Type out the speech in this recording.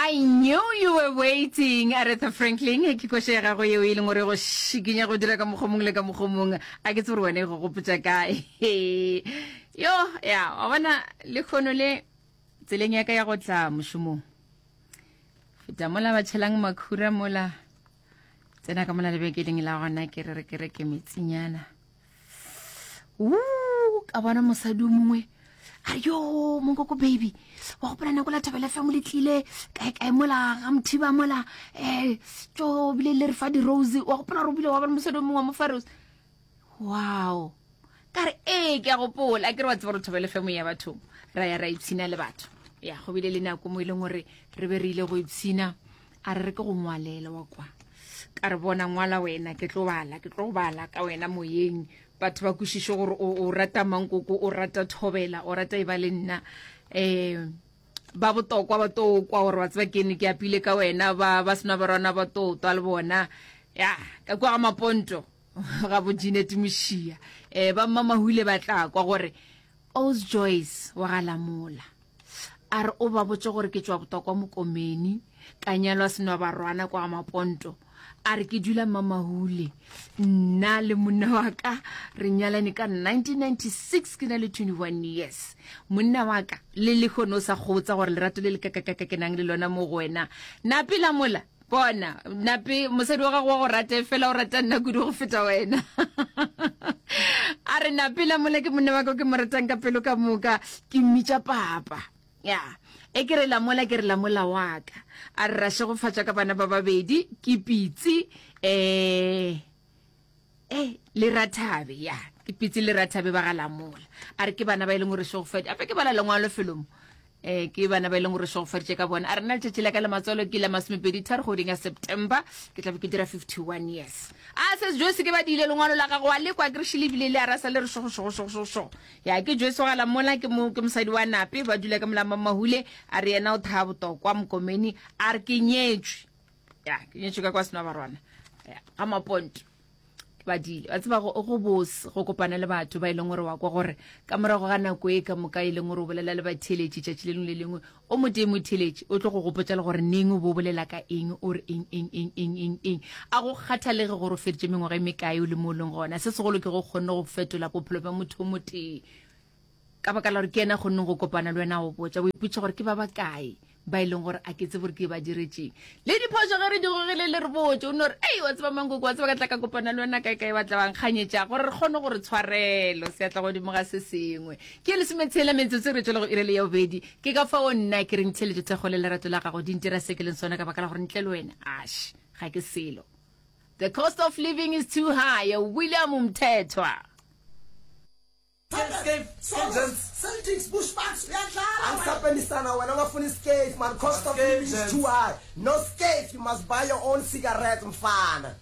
I knew you were waiting, Aretha Franklin. Ke koša ya gago yeo e leng gore go šikinya go dira ka mokgwa mongwe le ka mokgwa mongwe. A ke tsebe gore wena e go gopotša kae. Yo, ya, wa bona lekgono le tseleng ya ka ya go tla mošomong. Feta mola ba tšhelang makhura mola. Tsena ka mola lebenkeleng la gona ke re re ke reke metsinyana. Woo, ka bona mosadi o mongwe a re yo monkoko baby wa gopola nako la thabela fm le tlile kae kae mola ga mothiba mola um tso bile le re fa di-rose wa gopola gore o bile wa bona mosadi o mongwe wa mo fa rose wow ka re ee ke a gopola ke re wa tseba gore thobele fm ya bathong ra ya ra ipshina le batho ya go bile le nako mo e leng gore re be re ile go ipshina A re re ke go ngwalele wa kwa. Ka re bona ngwala wena ke tlo bala, ke tlo bala ka wena moyeng. Batho ba kwešiše gore o, o rata mankoko, o rata thobela, o rata e ba le nna. Eh ba botokwa ba to kwa gore wa tseba ke ne ke apile ka wena ba ba sena barwana ba to twa le bona ya ka kwa ga maponto ga bo Jeanette Mošia eh ba mmamahule ba tla kwa gore Os Joyce wa ga Lamola A re o ba botše gore ke tšwa Botokwa Mokomeni, ka nyalwa Senwabarwana kwa Maponto. A re ke dula Mamahule. Nna le monna wa ka re nyalane ka 1996 ke na le 21 years. Monna wa ka le lehono o sa kgotsa gore lerato le le kakakaka ke nang le lona mo go wena. Nape lamola bona nape mosadi wa gago wa go rata fela o rata nna kudu go feta wena a re nape la mola ke monna wa ka ke mo ratang ka pelo ka moka ke mmitša papa ya e ke re lamola ke re lamola wa ka a re ra šegofatša ka bana ba babedi ke pitsi um e le rathabe ya ke pitse le rathabe ba ga lamola a re ke bana ba e leng gore šegofadi ape ke bala lengwalo felo mo um ke bana ba e leng gore šegofaditše ka bona a re nna letšatši la ka la matswalo ke la masomepedi tharo kgweding ya september ke tlabe ke dira 51 years a se joyce ke badile lengwalo la gago wa lekwa ke re šile ebile le arasa le re šogo šogo šogo šogo šogo ya ke joyce wa ga lamola ke mo ke mosadi wa nape ba dula ka molama mahule a re yena o thaya botokwa mokomeni a re ke nyetšwe ya ke nyetšwe ka kwa senobarwana ya ga maponto ke badile wa tseba go bose go kopana le batho ba e leng gore wa kwa gore ka morago ga nako e ka moka e leng gore o bolela le batheeletši tšatši le lengwe le lengwe o motee motheeletši o tlo go gopotša le gore neng o bo bolela ka eng o re eng eng eng eng eng eng a go kgathalege gore o feditše mengwaga e mekae o le mo o leng gona se segolo ke go kgonne go fetola bophelo bja motho o motee Ka baka la gore ke yena a kgonneng go kopana le wena a go botša, o ipotšiša gore ke ba bakae ba e leng gore a ke tsebe gore ke ba diretšeng. Le diphošo ge re di gogile le re botše, o no re, Ei, wa tseba Mankoko, wa tseba ka tla ka kopana le wena kae kae, ba tla ba nkganyetša gore re kgone go re tshwarelo, seatla godimo ga se sengwe. Ke lesometshela metsotso re tšwele go iri le ya bobedi. Ke ka fao nna ke reng theeletšo thekgo le lerato la gago di ntira se ke leng sona ka baka la gore ntle le wena, ash, ga ke selo. The cost of living is too high, William Mthethwa. Celtics Bushbucks uyadlala angisapenisana wena ungafuna iscafe man cost of living is too high no scafe you must buy your own cigarettes mfana.